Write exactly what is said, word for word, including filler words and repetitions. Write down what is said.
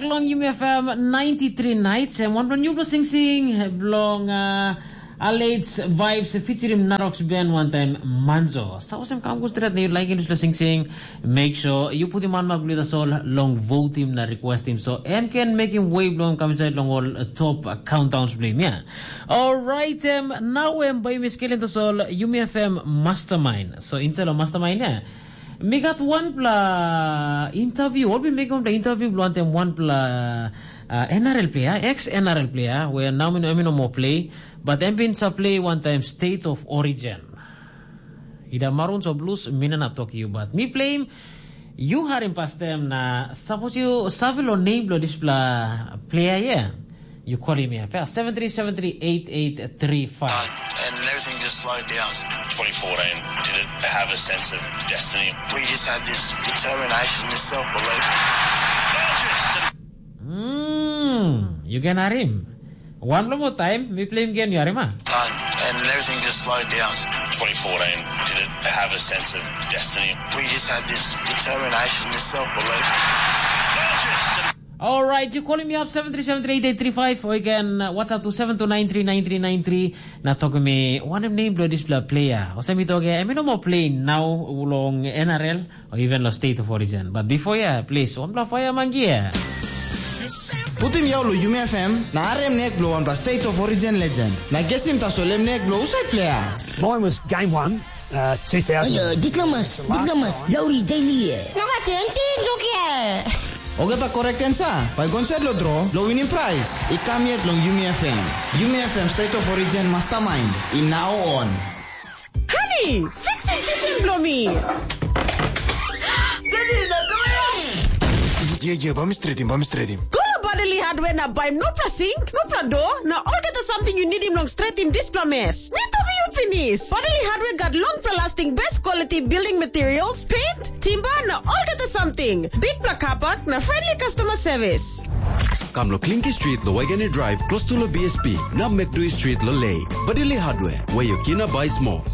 Long Yumi F M ninety-three nights, em wanpela newpela singsing bilong uh, Alex Vibes featuring Narox Ben one time Manzo. Sa olsem kam go stret na you like this singsing, make sure you put him on my blue soul long vote him na request him so em can make him way bilong kam inside long all uh, top uh, countdowns bilong him, yeah. Alright, em now em by Miss Killing the Soul, Yumi F M Mastermind. So inside of Mastermind, yeah. Mi gat wanpela interview, ol bin mekim wanpela interview bilong wantem wanpela uh, N R L player, ex N R L player, where now mi no, mi no more play, but em bin sa play one time State of Origin. Ida Maroons o Blues, mi na na tok you, but mi play him, you harim pastem na, suppose you save lo name bilong dispela player, yeah? You call him here, seven three seven three eight eight three five. And everything just slowed down. Twenty fourteen, did it have a sense of destiny? We just had this determination, this self-belief. Hmm, you can hear him. One more time, we play him again, you hear him, ah? And everything just slowed down. Twenty fourteen, did it have a sense of destiny? We just had this determination, this self-belief. All right, you calling me up seven three seven three eight eight three five, or you can uh, WhatsApp to seven two nine three nine three nine three. Na talk me, what name do this player? Or send me to again, I mean, no more playing now, long N R L, or even the state of origin. But before, yeah, please, one block fire, mangia. Putim yau lo Yumi F M, na arem nek blo wanpela State of Origin legend. Na gesim tasol em nek blo usai player. Mine was game one, uh, two thousand. Ayo, diplomas, diplomas, lauri daily ye. No ka tenti, look here. Ogata correct answer, bai gonset lo draw, lo winning prize. I kam yet long Yumi F M. Yumi F M State of Origin Mastermind, in now on. Honey, fixim kitchen blo mi. Ye, ye, ba mi stretim, ba mi stretim. Go to Bodily Hardware na bai nopla sink, nopla door, na olgeta something you need him long stretim dispela mess. Mi toki you finish. Bodily Hardware got long for lasting best quality building materials, paint, timber, na olgeta something. Big black kapak na friendly customer service. Kam lo Klinki Street lo Wageni Drive, close to lo B S P. Na Mekdui Street lo Lay. Bodily Hardware, where your kina buy small.